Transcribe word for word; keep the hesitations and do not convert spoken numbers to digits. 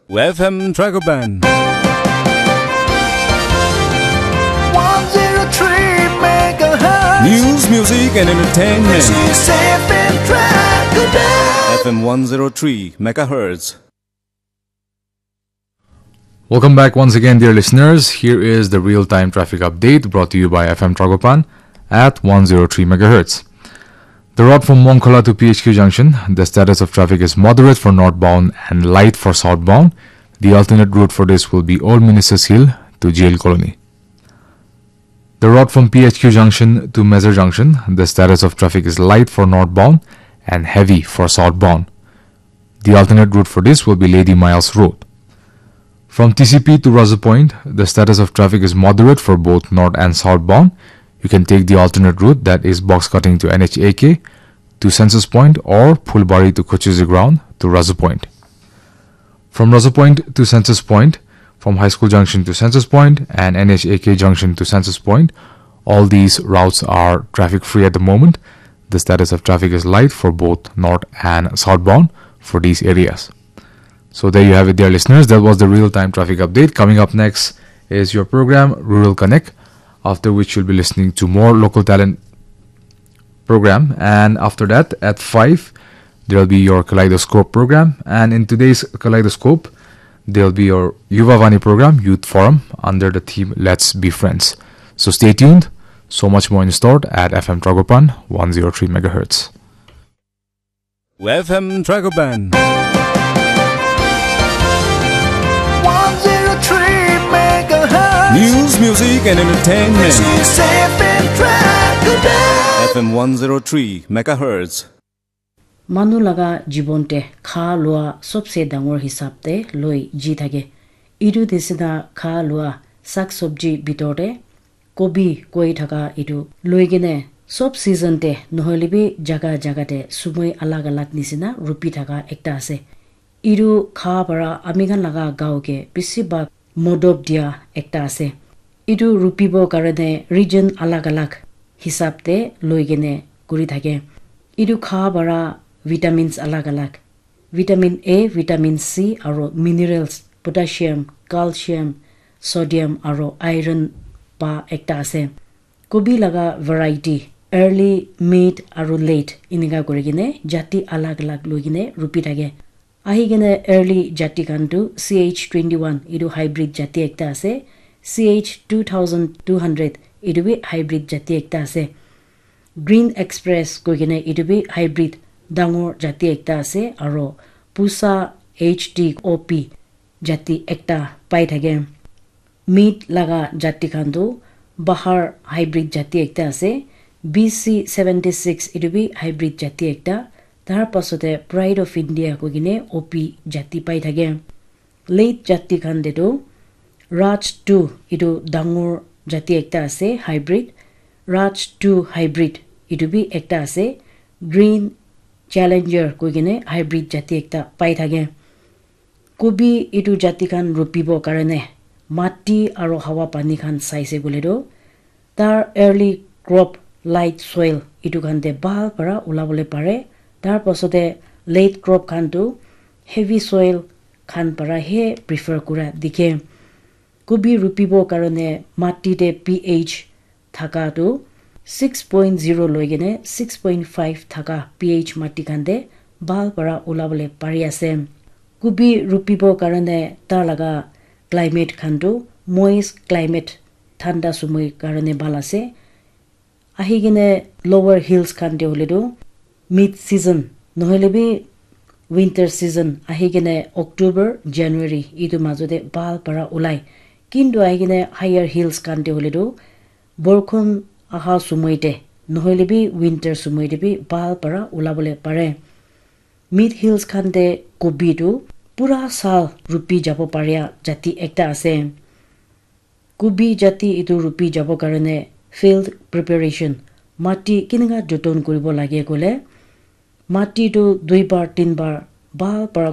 F M Dragoban. One zero three megahertz. News, music, and entertainment. This is F M Dragoban. F M one zero three megahertz. Welcome back once again, dear listeners. Here is the real-time traffic update brought to you by F M Dragoban at one zero three megahertz. The road from Mongkhola to P H Q junction, the status of traffic is moderate for northbound and light for southbound. The alternate route for this will be Old Ministers Hill to Jail Colony. The road from P H Q junction to Mezar junction, the status of traffic is light for northbound and heavy for southbound. The alternate route for this will be Lady Miles Road. From T C P to Razu Point, the status of traffic is moderate for both north and southbound. You can take the alternate route, that is box cutting to N H A K to Census Point or Phulbari to Kochuzi Ground to Razu Point. From Razu Point to Census Point, from High School Junction to Census Point and N H A K Junction to Census Point, all these routes are traffic free at the moment. The status of traffic is light for both north and southbound for these areas. So there you have it, dear listeners. That was the real-time traffic update. Coming up next is your program, Rural Connect, after which you'll be listening to more local talent program. And after that, at five, there'll be your Kaleidoscope program. And in today's Kaleidoscope, there'll be your Yuva Vani program, Youth Forum, under the theme Let's Be Friends. So stay tuned. So much more in store at F M Dragopan, one zero three megahertz. F M Dragoban. One zero three megahertz. News, music, and entertainment. This is F M Dragoban. F M one zero three megahertz. Manu laga jibon te kha lua sobse dangor hisab te loi ji thake. Itu nisina kha lua sak sobji bitor te kobi koi thaka itu loi kene sob season te nohoile bi jaga jaga te sumoi alag alag nisina rupi thaka ekta ase. Itu kha para ami khan laga gaon ke bishi bhag modop dia ekta ase. Itu rupibo karone region alag alag hisab te loi kene kuri thake. Itu kha para vitamins alag alag, vitamin A, vitamin C, aro minerals, potassium, calcium, sodium, aro iron pa ekta ase. Kobi laga variety, early, mid, aro late, inika kuri kene jati alag alag loi kene rupi thake. Ahi kene early jati khan tu C H twenty-one, itu hybrid jati ekta ase. C H two thousand two hundred, itu bi hybrid jati ekta ase. Green Express koi kene itu bi hybrid dangor jati ekta ase, aro Pusa H T O P jati ekta pai thake. Mid laga jati khan tu bahar hybrid jati ekta ase, B C seventy six, itu bi hybrid jati ekta. Tar pasate Pride of India koi kene O P jati pai thake. Late jati khan te tu Raj two, itu dangor jati ekta ase, hybrid. Raj two hybrid, itu bi ekta ase. Green Challenger koi kene hybrid jati ekta pai thake. Kobi itu jati khan rupibo karone mati aro hawa pani khan saise koile tu, tar early crop, light soil, itu khan te bhal para ulabole pare. Tar pasate late crop khan tu heavy soil khan para he prefer kura dikhe. Kobi rupibo karone mati te P H thaka tu six point zero loi kene six point five thaka P H mati khan te bhal para ulabole pari ase. Kobi rupibo karone tar laga climate khan tu moist climate, thanda sumoi karone bhal ase. Ahi kene lower hills khan te hoile tu mid season nohoile bi winter season ahi kene October, January itu majo te bhal para ulai. Kintu ahi kene higher hills khan te hoile tu borkhon aha sumoi te nohoile bi winter sumoi te bi bhal para ulabole pare. Mid hills khan te kobi tu pura saal rupi jabo paria jati ekta ase. Kobi jati itu rupi jabo karone field preparation, mati kineka joton kuribo lage koile, mati tu duibar, tinbar bhal para